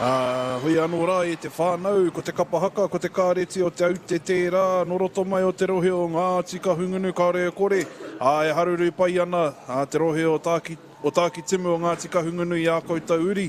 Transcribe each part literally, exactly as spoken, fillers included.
Uh, hui anō rā e te whānau, ko te kapa haka, ko te kāreti o Te Aute tērā, nō roto mai o te rohe o Ngāti Kahungunu kāore e kore, ā, e haruru pai ana a te rohe o Tāki, o Tākitimu o Ngāti Kahungunu i ā koutou uri,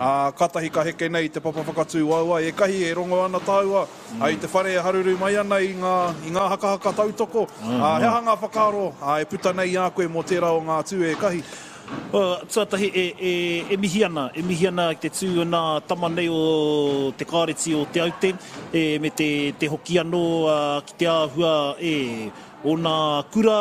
ā, kātahi ka heke nei te papa whakatū waewae, e kahi e rongo ana tāua, mm. i te whare e haruru mai ana i ngā, i ngā hakahaka tautoko, mm. ā, he aha ngā whakaaro ā, e puta nei i a koe mō tērā o ngā tū e kahi? Uh, tuatahi e, e, e mihi ana, e mihi ana ki te tū o nā tama nei o te kāreti o Te Aute, e, me te, te hoki anō uh, ki te āhua e, o nā kura,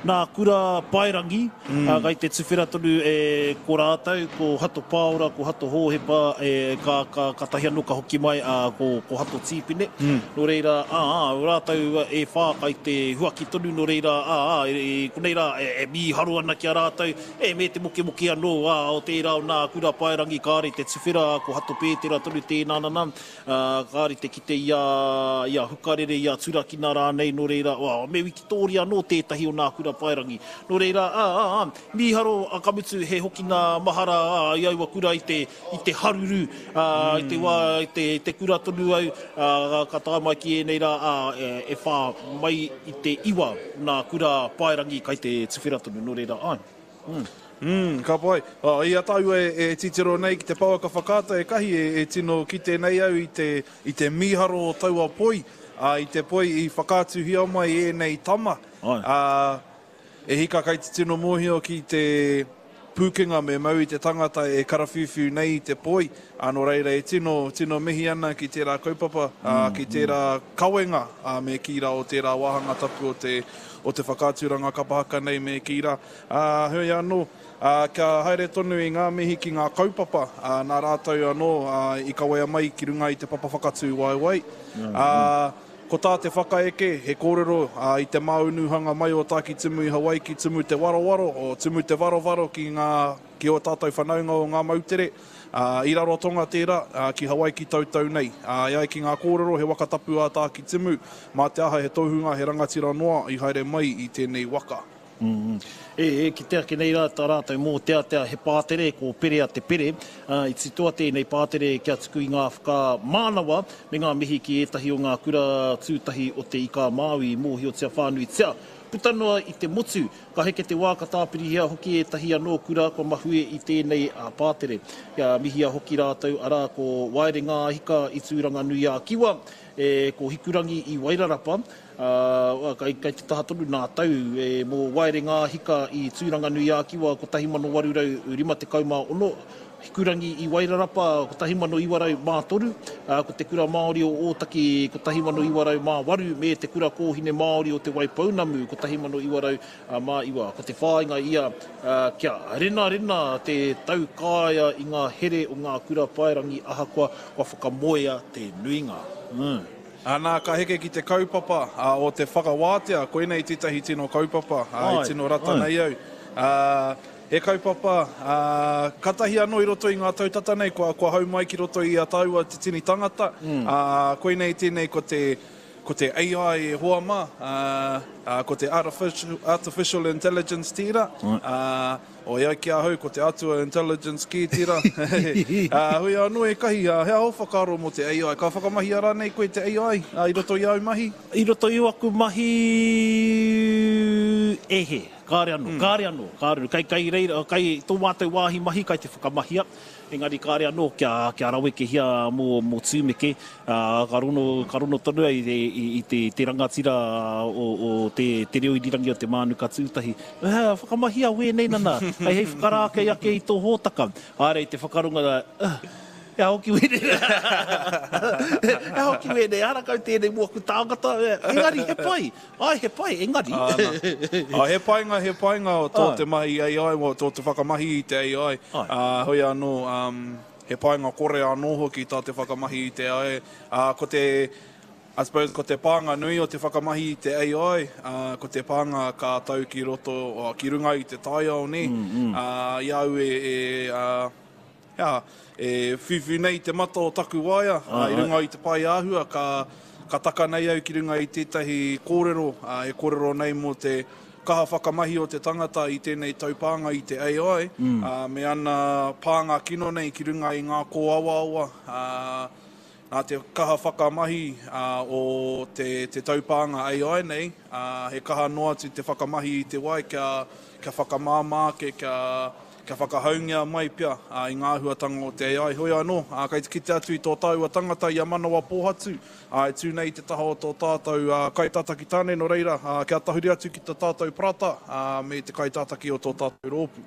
nā kura paerangi, mm. uh, kai te tuwhera tonu e, ko rātou, ko Hato Pāora, ko Hato Hōhepa, e, ka, ka, ka tahi anō ka hoki mai uh, ko, ko Hato Tīpene. Mm. Nō reira, ā, ā, rātou e whā kai te huaki tonu, nō reira, ā, ā, e, e, konei rā, e, e mīharo ana ki a rātou, e me te mokemoke anō, ā, o tērā o nā kura paerangi kāre te tuwhera, ko Hato Pētera tonu tēnā nana, ā, kāre te kite i a, i a Hukarere, i a Turakina rānei, nō reira, ā, me Wikitōria anō tētahi o nā kura paerangi. Nō reira, ā, ā, ā, mīharo, a ka mutu he hokina mahara ā, i aua kura i te, i te haruru, ā, mm. i te wā, i te, te kura tonu au, ā, ka tae mai ki ēnei rā, ā, e, e whā mai i te iwa nā kura paerangi kai te tuwhera tonu, nō reira, āe. Mm. Mm, ka pai. Oh, i a tāua e, e titiro nei ki te pouaka whakaata e kahi e, e tino kite nei au i te, i te mīharo o taua poi, ā, i te poi i whakaatuhia mai ēnei tama. Ā, e hika kai te tino mōhio ki te pūkenga me mau i te tangata e karawhiuwhiu nei i te poi, ā, nō reira e tino, tino mihi ana ki tērā kaupapa, ā, ki tērā kawenga, ā, me kī rā o tērā wāhanga tapu o te, o te whakaaturanga kapa haka nei me kī rā. Ā, heoi anō, ā, kia haere tonu i ngā mihi ki ngā kaupapa, ā, nā rātou anō, ā, i kawea mai ki runga i te papa whakatū waewae. Ā, ko tā te whakaeke, he kōrero, ā, i te māunuhanga mai o Tākitimu i Hawaiki, tumu te warowaro, o tumu te varovaro ki ngā, ki ō tātou whanaunga o ngā moutere, ā, i Rarotonga tērā, ā, ki Hawaiki tautau nei. Ā, e ai ki ngā kōrero, he waka tapu ā Tākitimu, mā te aha he tohunga, he rangatira noa i haere mai i tēnei waka. Mm. E, e kite ake nei rā tā rātou mōteatea he pātere, ko Perea te Pere. Uh, i titoa tēnei pātere kia tuku i ngā whakamānawa me ngā mihi ki ētahi o ngā kura tūtahi o te Ika Māui i mōhiotia whānuitia. Puta noa i te motu, ka heke te wā ka tāpirihia hoki ētahi anō kura kua mahue i tēnei a pātere. Kia mihia hoki rātou arā ko Waere Ngāhika i Tūranganui a Kiwa, e, ko Hikurangi i Wairarapa, uh, kai, kai te taha tonu nā tau e, mō Waere Ngāhika i Tūranganui a Kiwa kotahi mano waru rau rima tekau mā ono, Hikurangi i Wairarapa kotahi mano iwa rau mā toru, uh, ko te Kura Māori o Ōtaki kotahi mano iwa rau mā waru, me te Kura Kōhine Māori o Te Waipounamu kotahi mano iwa rau mā iwa. Ko te whāinga ia uh, kia renarena te taukaea i ngā here o ngā kura paerangi ahakoa kua whakamoea te nuinga. Mm. Anā, ka heke ki te kaupapa uh, o te whakawātea, koinei tētahi tino kaupapa, uh, i tino rata nei au. Uh, he kaupapa, uh, katahi anō i roto i ngā tau tata nei, kua, kua hau mai ki roto i a tāua te tini tangata. Mm. Uh, koinei tēnei ko te, ko te A I e hoa mā, uh, uh, ko te artificial, artificial intelligence tērā. Mm. Uh, o ia ki ahau, ko te atua intelligence ki tērā. uh, hui anō e kahi, uh, he aho whakaaro mō te A I. Ka whakamahia rānei koe te A I uh, i roto i au mahi? I roto i aku mahi e he. Kāre anō, mm. kāre anō, kāre anō. Kai, kai, reira, kai tō mātou wāhi mahi kai te whakamahia, engari kāre anō kia, kia rawekehia mō, mō Tūmeke, uh, ka rono, ka rono tonu ai i, i, i te, te rangatira o, o te, te reo irirangi o te Mānuka Tūtahi. Uh, whakamahia wēnei nana, hei hei whakarākei ake i tō hōtaka. Āre i te whakarunga, uh, Ea hoki wēnei. Ea hoki wēnei, ara kau tēnei mō aku tāngata. Engari, he pai. Ai, he pai, engari. Ā, he painga, he painga o tō te mahi A I, o tō te whakamahi i te A I. Ā, hoi anō, um, he painga kore anō hoki tā te whakamahi i te A I. Ā, ko te, I suppose, ko te pānga nui o te whakamahi i te A I, uh, ko te pānga ka tau ki roto, o, ki runga i te taiao, ne? Mm, mm. Uh, i au e, e uh, Ea, e whiwhi nei te mata o taku waea, uh, i runga i te pai āhua, ka, ka taka nei au ki runga i tētahi kōrero, uh, e kōrero nei mō te kaha whakamahi o te tangata i tēnei taupānga i te A I, mm. uh, me ana pānga kino nei ki runga i ngā kōawaawa, uh, nā te kaha whakamahi uh, o te, te taupānga A I nei, uh, he kaha noa atu te whakamahi i te wai kia, kia whakamāmā ake, kia, kia whakahaungia mai pia uh, i ngā āhuatanga o te A I. Hoi anō, uh, kei te kite atu i tō tāua tangata i a Manawa Pōhatu, uh, e tū nei te taha o tō tātou uh, kaitātaki tāne, nō reira, uh, kia tahuri atu ki tō tātou parata uh, me te kaitātaki o tō tātou rōpū.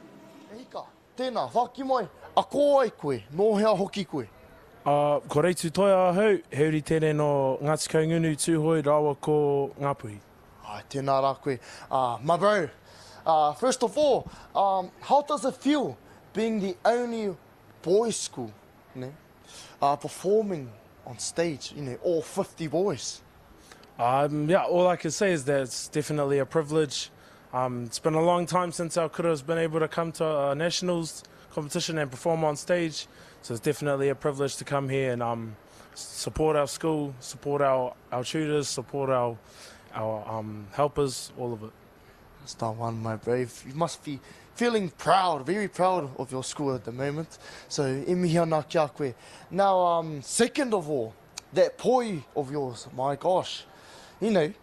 E hika, tēnā, whaki mai, a ko ai koe, nō hea hoki koe? Uh, ko Reitu Toia ahau, he uri tēnei no Ngāti Kahungunu, Tūhoe, rāua ko Ngāpuhi. Ai, tēnā rā koe. Uh, my bro, uh, first of all, um, how does it feel being the only boys school, you know, uh, performing on stage, you know, all fifty boys? Um, yeah, all I can say is that it's definitely a privilege. Um, it's been a long time since our kura has been able to come to a nationals competition and perform on stage. So it's definitely a privilege to come here and um, support our school, support our, our tutors, support our, our um, helpers, all of it. That's the one, my brave. You must be feeling proud, very proud of your school at the moment. So, e mihi ana kia koe. Now, um, second of all, that poi of yours, my gosh. You know,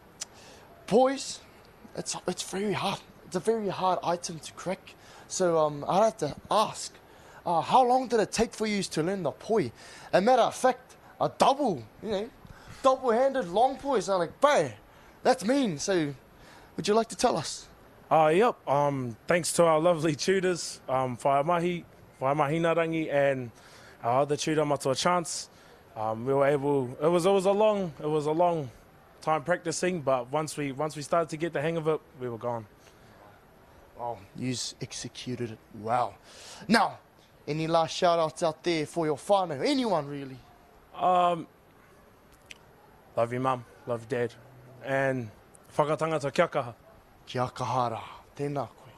pois, it's, it's very hard. It's a very hard item to crack. So um, I'd have to ask, uh, how long did it take for you to learn the poi? A matter of fact, a double, you know, double-handed long poi. So I'm like, bro, that's mean. So would you like to tell us? Uh, yep. Um, thanks to our lovely tutors, um, Whaea Mahi, Whaea Mahinarangi, and our other tutor, Matua Chance. Um, we were able, it was, it was a long, it was a long time practicing, but once we, once we started to get the hang of it, we were gone. Oh, you executed it well. Now, any last shout-outs out there for your whānau? Anyone, really? Um, love you, Mum. Love you, Dad. And whakatangata kia kaha. Kia kaha rā. Tēnā koe.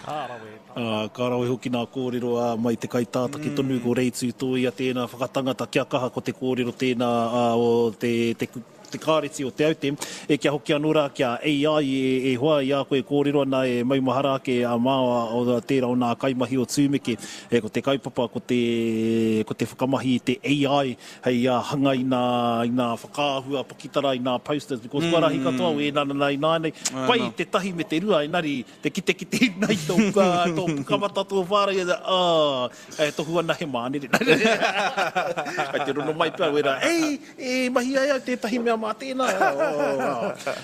Ka rawe. Uh, ka rawe hoki nā kōrero uh, mai te kaitātaki mm. tonu ko Reitu Tōia tēnā whakatangata kia kaha ko te kōrero tēnā uh, o te, te, te kāreti o Te Aute. E kia hoki anō rā kia A I e, e hoa i a koe kōrero ana e maumahara ake a māua o tērā o nā kaimahi o Tūmeke. E ko te kaupapa, ko te, ko te whakamahi i te A I hei uh, hanga i nā, i nā whakaahua pakitara, i nā posters, because mm. kua rahi katoa o e nā nā nā nei. Pai no. Te tahi me te rua, engari te kite kite nei tō, tō pukamata tō whāra, i ah, e tohu ana he mānere. Kai te rono mai pea, wera, ei, e mahi ai au tētahi mea mā tēnā.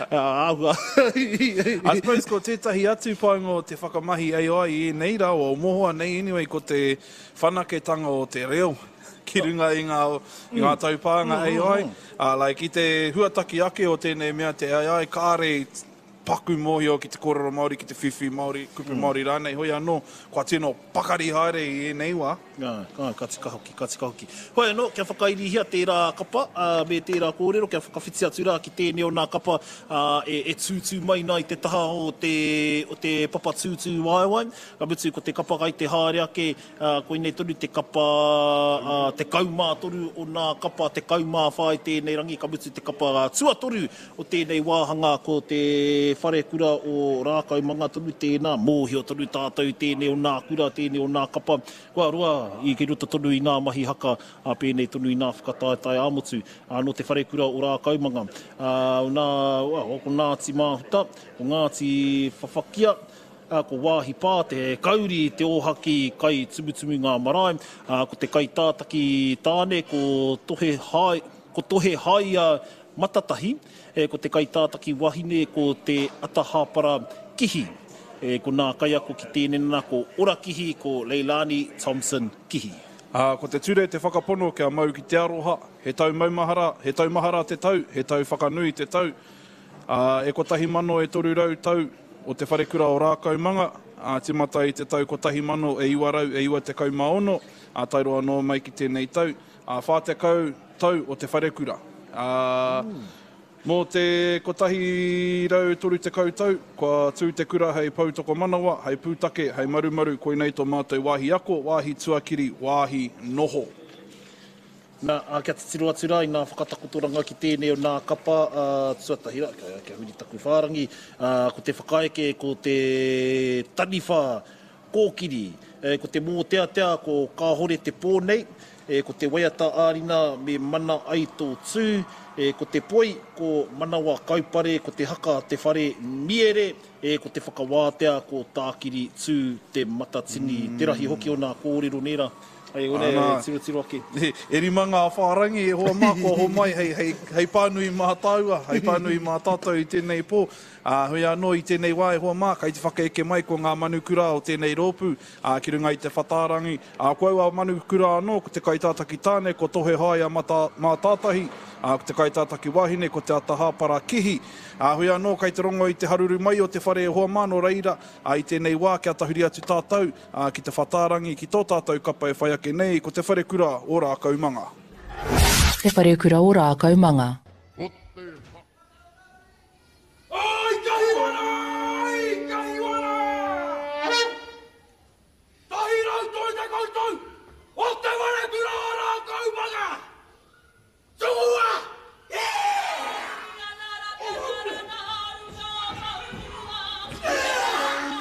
Āhua. I suppose ko tētahi atu painga o te whakamahi A I i ēnei rā, o mohoa nei anyway, ko te whanaketanga o te reo ki runga i ngā, i ngā taupānga A I. Uh, like, i te huataki ake o tēnei mea te A I, kāre paku mōhio ki te kōrero Māori, ki te whiwhi Māori, kupu mm. Māori rānei, hoi anō, kua tino pakari haere i ēnei wā. Ngā, ngā, ka tika hoki, ka tika hoki. Hoi anō, kia whakairihia tērā kapa, uh, me tērā kōrero, kia whakawhiti atu rā ki tēnei o nā kapa uh, e, e tūtū mai nā i te taha o te, o te papa tūtū waewae. Ka mutu ko te kapa kai te haere ake, uh, koinei tonu te kapa uh, te kaumātoru o nā kapa, te kaumāwhā i tēnei rangi, ka mutu te kapa tuatoru o tēnei wāhanga ko te wharekura o Rākaumanga tonu tēnā, mōhio tonu tātou tēnei o nā kura, tēnei o nā kapa. Kua roa i ki roto tonu i ngā mahi haka, a pēnei tonu i ngā whakataetae ā-motu, a no te wharekura o Rākaumanga. A, nā, ko Ngāti Māhuta, ko Ngāti Whawhakia, a, ko Wāhi Pā, te kauri, te ōhaki kai tumutumu ngā marae, a, ko te kaitātaki tāne, ko Tohe Hai, ko Tohe Haia Matatahi, e, ko te kaitātaki wahine, ko te Atahāpara Kihi. E, ko nā kaiako ki tēnei nā, ko Ora Kihi, ko Leilani Thompson Kihi. Uh, ko te ture te whakapono kia mau ki te aroha, he tau maumahara, he tau mahara te tau, he tau whakanui te tau. Uh, e kotahi mano e toru rau tau o te wharekura o Rākaumanga, uh, timata i te tau kotahi mano e iwa rau e iwa tekau mā ono, uh, tairo anō mai ki tēnei tau, uh, whā tekau tau o te wharekura. Uh, mm. Mō te kotahi rau toru tekau tau, kua tū te kura hei poutoko manawa, hei pūtake, hei marumaru, koinei tō mātou wāhi ako, wāhi tuakiri, wāhi noho. Nā, ā, kia titiro atu rā i ngā whakatakotoranga ki tēnei o nā kapa, ā, tuatahi rā, kia, kia huri taku whārangi, ā, ko te whakaeke, ko te taniwha kōkiri, e, ko te mōteatea, ko Kāhore te pō nei, e, ko te waiata ā-rina me Mana ai tō tū, e, ko te poi, ko Manawa Kaupare, ko te haka Te Whare Miere, e, ko te whakawātea, ko Tākiri Tū Te Matatini. Te rahi hoki o nā kōrero nē rā. Hei one Ana. tirotiro ake. E, e rima ngā whārangi e hoa mā kua homai hei, hei, hei pānui mā tāua, hei pānui mā tātou i tēnei pō. Ā, hoi anō i tēnei wā e hoa mā, kai te whakaeke mai ko ngā manukura o tēnei rōpū, ā, ki runga i te whatārangi. Ā, ko aua manukura anō, ko te kaitātaki tāne, ko Tohe Haea Mata, Mātātahi, ā, ko te kaitātaki wahine, ko Te Atahāpara Kihi. Ā, hoi anō, kai te rongo i te haruru mai o te whare e hoa mā, nō reira, ā, i tēnei wā, kia tahuri atu tātou, ā, ki te whatārangi, ki tō tātou kapa e whai ake nei, ko Te Wharekura o Rākaumanga. Te Wharekura o Rākaumanga.